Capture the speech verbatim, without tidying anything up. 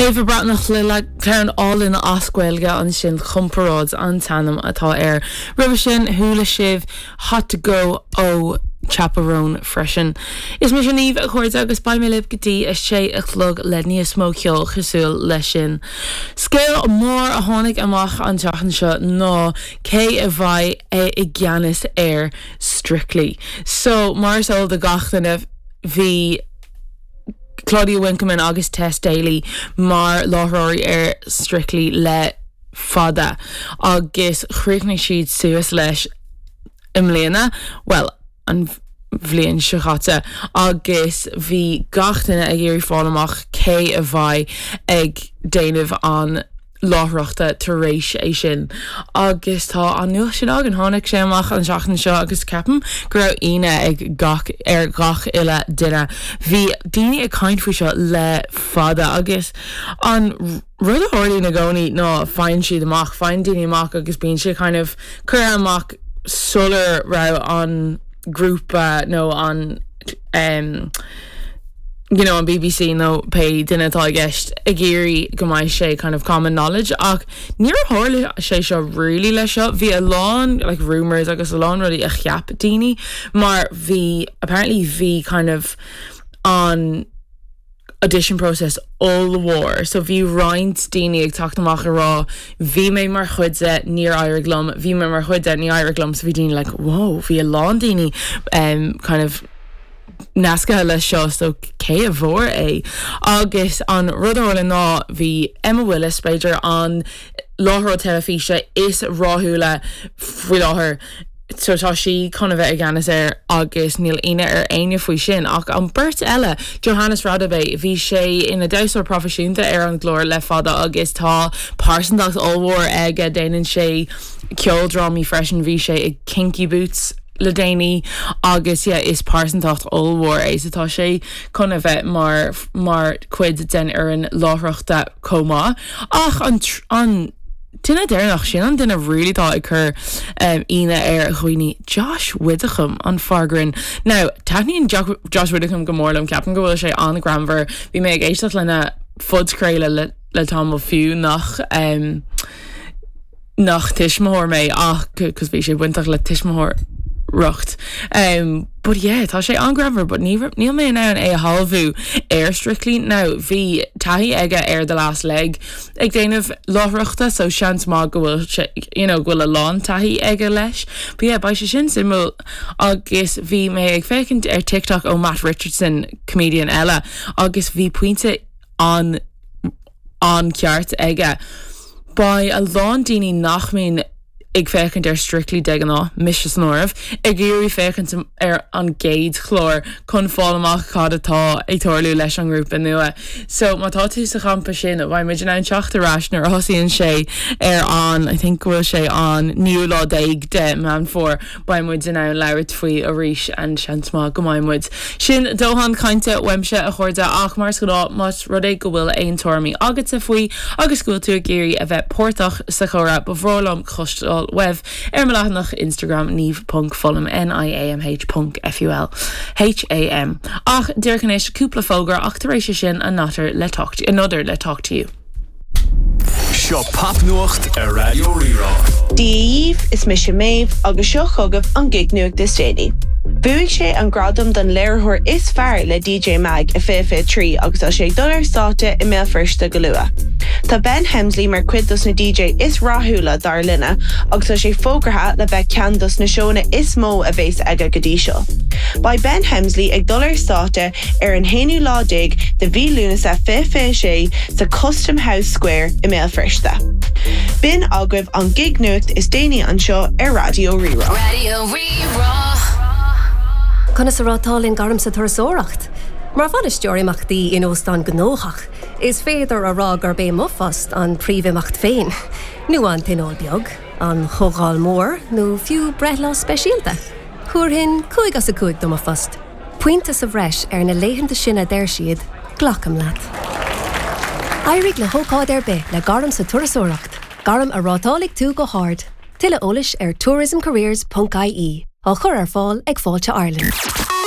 Éabha Breathnach le ceann álainn as Gaeilge ansin Comparáid an t-ainm atá air. Roimhe sin chuala sibh Hot to Go ó Chappell Roan freisin. Is mise Niamh a chairde agus beidh mé libh go dtí a sé a chlog le níos mó ceol cosúil leis sin. Scéal mór a tháinig amach an tseachtain seo ná cé a bheidh i gceannas ar Strictly. So mar is eol do gach duine bhí Claudia Winkleman agus Tess Daly mar láithreoirí ar Strictly le fada agus chríochnaigh siad suas leis i mbliana well an bhliain seo caite agus bhí gach duine ag iarraidh fáil amach cé a bheidh ag déanamh an láithreachta tar éis é sin. Agus tá an nuacht sin againn tháinig sé amach an seachtain seo agus ceapaim go raibh ionadh ag gach ar gach uile duine. Bhí daoine ag caint faoi seo le fada agus an rud a tharlaíonn i gcónaí ná faigheann siad amach, faigheann daoine amach agus bíonn sé kind of curtha amach sular raibh an grúpa nó an um, you know, an BBC nó pé duine atá i gceist ag iarraidh go mbeidh sé kind of common knowledge ach níor tharla sé seo really leis seo bhí a lán like rumors agus a lán rudaí a cheap daoine mar bhí apparently bhí kind of an audition process ollmhór so bhí roinnt daoine ag teacht amach a rá bhí mé mar chuid de níor éirigh liom bhí mé mar chuid de ní éirigh liom so bhí daoine like wow bhí a lán daoine um, kind of nasctha leis seo so cé a bhfuair é agus an rud eile ná bhí Emma Willis b'fhéidir an láithreoir teilifíse is rathúla faoi láthair so tá sí chun a bheith i gceannas air agus níl ionadh ar éinne faoi sin ach an beirt eile Johannes Radebe bhí sé ina dhamhsóir proifisiúnta ar an gclár le fada agus tá pearsantacht ollmhór aige déanann sé ceoldrámaí freisin bhí sé i Kinky Boots le déanaí agus yeah, is pearsantacht ollmhór é so tá sé chun a bheith mar mar chuid den fhoireann láithreachta chomh maith ach an an duine deireanach sin an duine really tá ag cur um, ionadh ar dhaoine Josh Widdicombe an fear grinn. Now taitníonn Josh Widdicombe go mór liom ceapaim go bhfuil sé an-ghreannmhar, bhí mé ag éisteacht lena phodchraoladh le, le tamall fiú nach um, nach tuismitheoir mé ach cos bhí sé bainteach le tuismitheoireacht. Um, but yeah, tá sé an-ghreannmhar, but ní níl mé in ann é a shamhlú ar Strictly now bhí taithí aige ar the last leg ag déanamh láithreachta so seans maith go bhfuil sé you know, go bhfuil a lán taithí aige leis. But yeah, beidh sé sin suimiúil agus bhí mé ag féachaint ar TikTok ó Matt Richardson comedian eile agus bhí pointe an an ceart aige. Beidh a lán daoine nach mbíonn ag féachaint ar Strictly de ghnáth mise san áireamh ag iarraidh féachaint ar an gcéad chlár chun fáil amach cad atá ag tarlú leis an ngrúpa nua. So má tá tú sa champa sin beidh muid in ann teacht ar ais nuair a thosaíonn sé ar an I think go bhfuil sé an naoú lá déag de Meán Fómhair beidh muid in ann labhairt faoi arís an seans maith go mbeidh muid. Sin dóthain cainte uaimse a chairde ach mar is gnáth más rud é go bhfuil aon tuairimí agatsa faoi agus go bhfuil tú ag iarraidh a bheith páirteach sa chomhrá ba bhreá liom cloisteáil uaibh ar mo leathanach Instagram niamh.fulham N-I-A-M-H.F-U-L H-A-M. Ach díreach anois cúpla fógra ach tar éis sin another le talk to, another le talk to you. Seo popnuacht ar Raidió Rí-Rá. Dia dhaoibh is mise Méabh agus seo chugaibh an gig nuacht is déanaí. Bhuaigh sé an gradam don léiritheoir is fearr le DJ Mag i fiche fiche trí agus tá sé ag dul ar stáitse i mBéal Feirste go luath. Tá Ben Hemsley mar chuid dos na DJ is rathúla dár linne agus tá sé fógartha le bheith ceann dos na seónna is mó a bheas aige go dtí seo. Beidh Ben Hemsley ag dul ar stáitse ar an haonú lá déag de mhí Lúnasa fiche fiche sé sa Custom House Square i mBéal Feirste. B'in agaibh an gig nuacht is déanaí anseo ar Raidió Rí-Rá. Raidió Rí-Rá. Conas a rátálann gairm sa turasóireacht. Mar bhainisteoir imeachtaí in óstán gnóthach, is féidir a rá gurb é mo phost an príomhimeacht féin. Nó an tionól beag, an chomhdháil mór nó fiú breithlá speisialta. Thabharfainn cúig as a cúig do mo phost. Pointe sa bhreis ar na laethanta sin a deir siad, glacaim leat. Éirigh le hócáid ar bith le gairm sa turasóireacht, gairm a rátálfaidh tú go hard. Tuilleadh eolais ar tourismcareers.ie á chur ar fáil ag Fáilte Ireland.